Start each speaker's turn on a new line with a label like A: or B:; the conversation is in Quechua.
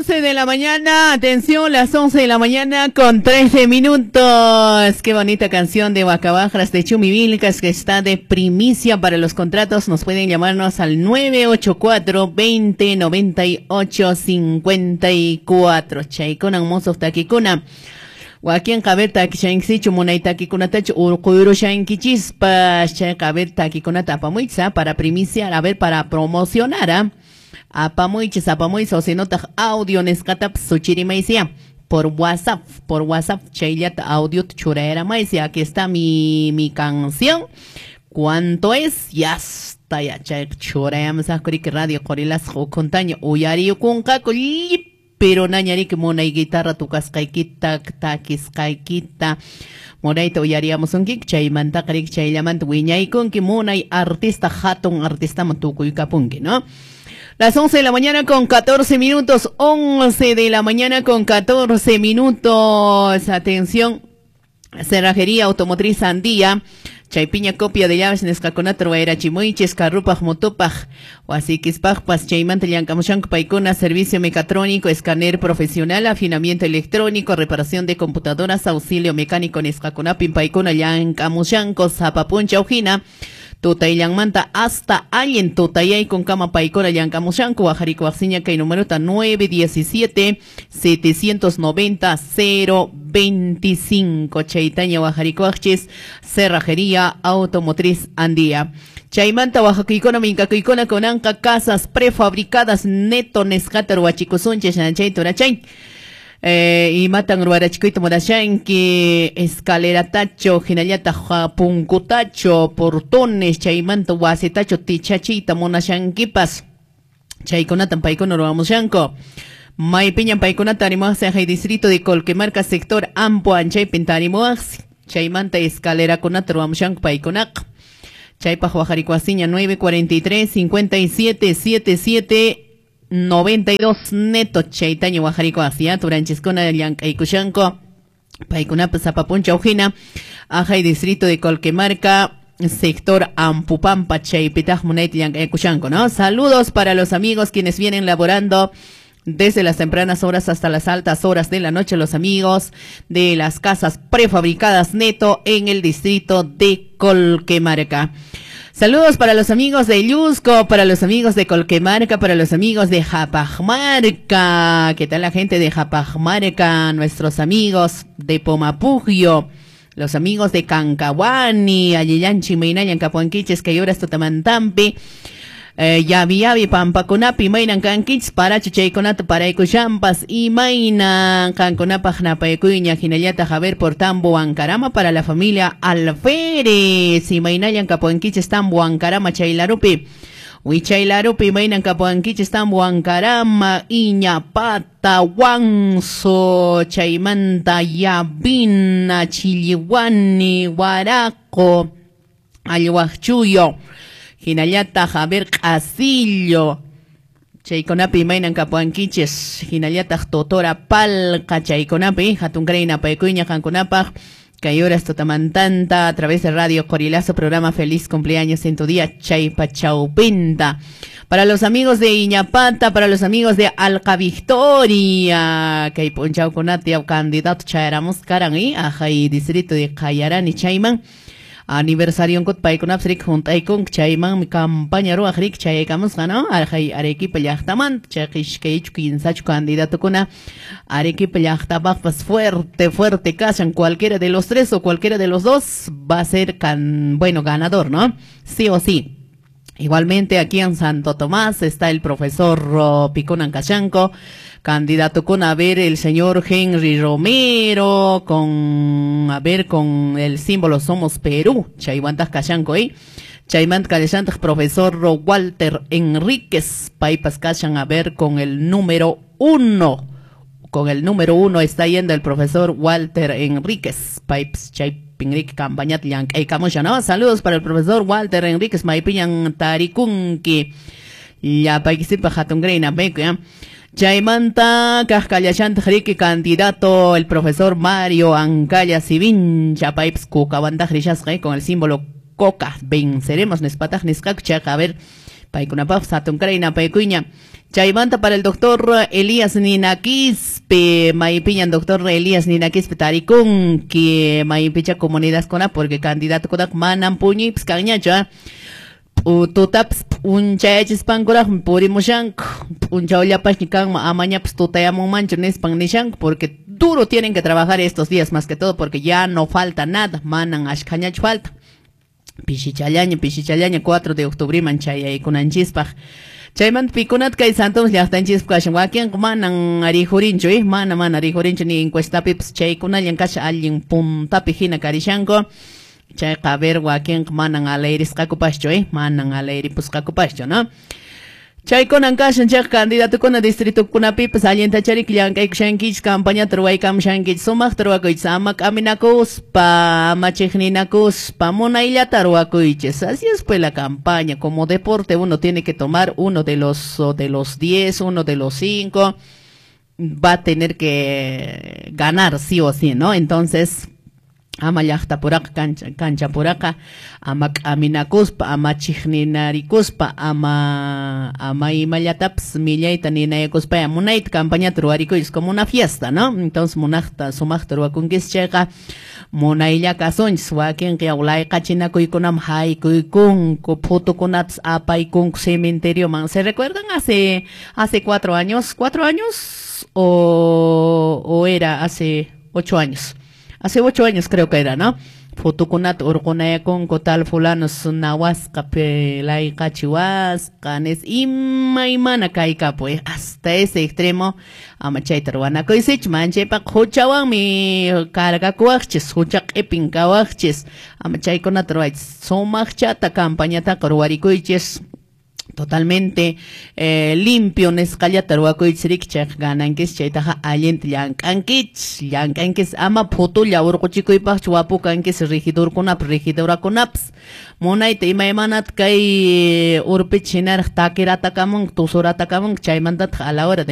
A: 11 de la mañana, atención, las 11 de la mañana con 13 minutos. Qué bonita canción de Huacabajras de Chumivilcas que está de primicia para los contratos. Nos pueden llamarnos al 984 20 98 54. Chaykuna mozoq takikuna. Wakin qaber takishankichu munay takikunatachu urquyurushankichispas chay qaber takikunata apamuychis para primiciar, a ver, para promocionar, ¿ah? Apamuychis, apamuychis, o si no audio nisqatapas suchirimaysiya por WhatsApp, chayllata audio churayaramaysi. Aquí está mi canción. ¿Cuánto es? Ya está, ya chay churayamusaqkuriki radio Qorilasqa ukhuntaña uyariyukunqaku pero nañariki munay guitarra tukasqaykita takisqaykita munayta uyariyamusunki chaymantaqa riki chayllamanta wiñaykunki munay artista hatun artistaman tukuykapunki, ¿no? Las 11 de la mañana con 14 minutos, 11 de la mañana con 14 minutos. Atención, Cerrajería Automotriz Andía. Chaypiña copia de llaves nisqakunata ruwayrachimuychis carrupaj motopaj wasikispajpas chaymanta llank'amushanku paykuna servicio mecatrónico, escáner profesional, afinamiento electrónico, reparación de computadoras, auxilio mecánico nisqakunapin paykuna llank'amushanku sapa p'unchaw hina tutayllanmanta hasta allin tutayaykunkama paykuna llank'amushanku waqharikuwaqsiña kay numerota 917 790 025 chaytaña waqharikuwaqchis Cerrajería Automotriz Andía. Chaymanta wajakuykuna minkakuykuna kunanqa casas prefabricadas neto nisqata ruwachikusunchis chay turachay. Imatan ruwarachikuyta munashanki escaleratacho hinallataq punkutacho portones chaymanta wasitacho tichachiyta munashankipas chaykunatan paykuna ruwamushanku. Maypiñan paykunata tarimuwaqsi hay distrito de Colquemarca sector Ampu anchaypin tarimuwaqsi chaymanta escalerakunata ruwamushanku paykunaqa. Chaypaq waqharikuwasiña 943 57 77 92 neto chaytaña waqharikuwaqsi turanchiskuna llank'aykushanku paykunapas sapa p'unchaw hina ajay distrito de Colquemarca sector Ampupampa chaypitaq munayta llank'aykushanku, ¿no? Saludos para los amigos quienes vienen laborando desde las tempranas horas hasta las altas horas de la noche, los amigos de las casas prefabricadas neto en el distrito de Colquemarca. Saludos para los amigos de Llusco, para los amigos de Colquemarca, para los amigos de Japajmarca. ¿Qué tal la gente de Japajmarca? Nuestros amigos de Pomapugio, los amigos de Cancahuani, Allillanchi, Meinayan, Capuanquiches, Cayoras, Totamantampi. Yavi yavi pampakunapi maynan kankichis parachu chaykunata paraykushampas imaynan kankunapaq napaykuyña hinallataq a ver por Tambo Ancarama para la familia Alférez imaynallan kapuankichis Tambo Ancarama chaylarupi wichaylarupi imaynan kapuankichis Tambo Ancarama Iñapata Huanzo chaymanta Yavina Chilliwani Huaraco Allwaqchuyo hinallataq a ver Q'asillo chaykunapi imaynan kapuankichis hinallataq Totora Palqa chaykunapi hatunkaray napaykuyña qankunapaq kay horas tutamantanta a través de Radio Qorilazo programa Feliz Cumpleaños en tu día chaypa chawpinta. Para los amigos de Iñapata, para los amigos de Alca Victoria, kay p'unchawkunata yaw candidato chayaramusqaran ajay distrito de Qayarani chayman aniversario nkut paykunapas riki hunt'aykunku chaymanmi campaña ruwaq riki chayaykamusqa, ¿no? Ajay Arequipa llaqtamanta chayqa iskaychu kinsachu candidatokuna Arequipa llaqtapaqpas fuerte fuerte kashan cualquiera de los tres o cualquiera de los dos va a ser bueno ganador, ¿no? Sí o sí. Igualmente aquí en Santo Tomás está el profesor Piconan Kashanko, candidato con a ver el señor Henry Romero, con a ver con el símbolo Somos Perú, chaywantaj kashanko, chaymanta kallashantaq profesor Walter Enríquez, paypas kashan a ver con el número 1, con el número 1 está yendo el profesor Walter Enríquez, paypas chay Pinrik campañat llank'aykamusha, ¿no? Saludos para el profesor Walter Enríquez maypiñan tarikunki llapaykisipaq hatunkaray napayku, ¿ya? Chaymanta kaqkallashantaq riki candidato el profesor Mario Ancalla Sivincha paypas kukawantaq rishasqa con el símbolo Coca venceremos nispataq nisqaku chayqa a ver paykunapaqpas hatunkaray napaykuyña. Chaymanta para el doctor Elías Ninaquispe, maypiñan doctor Elías Ninaquispe tarikunki, maypicha comunidadkuna, porque candidato manam puñuypis kanñachu, tutapas p'unchayachispankuraqmi purimushanku, p'unchawllapasña kanman amañapas tutayamunmanchu nispan nishanku, porque duro tienen que trabajar estos días, más que todo porque ya no falta nada, manan ashkhañachu falta. Pishichallaña, pishichallaña 4 de octubre man chayaykunanchispaq. Chaymanta pikunat kay Santos llaqtanchispaq kashan, wakinqa manan rijurinchu, mana rijurinchu ni encuestapipas chaykunallan kashan allin puntapi hina karishanku. Chayqa a ver wakinqa manan alayrisqakupaschu, manan alayripusqakupaschu, ¿no? Chaykunan kashan chayqa candidatukuna distritukunapipas allintachariki llank'aykushankichis, campañata ruwaykamushankichis, sumaqta ruwakuychis, ama k'aminakuspa, ama chiqninakuspa, munayllata ruwakuychis. Así es pues la campaña, como deporte uno tiene que tomar uno de los 10, uno de los 5, va a tener que ganar sí o sí, ¿no? Entonces, ama llaqta puraqa, cancha puraqa, ama k'aminakuspa, ama chiqninarikuspa, ama imallatapas millayta ninayakuspa, munayta campañata ruwarikuychis como una fiesta, ¿no? Entonces munaqta, sumaqta ruwakunkis chayqa munaylla kasunchis, wakinqa layqachinakuykunam haykuykunku, phutukunatas apaykunku cementerioman. ¿Se recuerdan hace 4 años? ¿4 años? O era hace 8 años? Hace 8 años creo que era, ¿no? Fotokunata urqunayakunku tal fulanos nawasqa layqachiwasqa nis imaymana kaykapuy, hasta ese extremo ama chayta ruwanakuysichu, manchaypaqa huchawanmi cargakuwaqchis, hucha q'ipin kawaqchis, ama chaykunata ruwaychis, sumaqchata campañataqa ruwarikuychis, totalmente limpio nisqallata ruwakuychis riki, chayqa ganankis, chaytaqa allinta llank'ankichis, llank'ankis, ama phutulla urquchikuypaqchu wapukankis regidorkunapas, regidorakunapas, munayta imaymanata kay urpicha hinaraq takiratakamunku, tusuratakamunku, chaymantataq a la hora de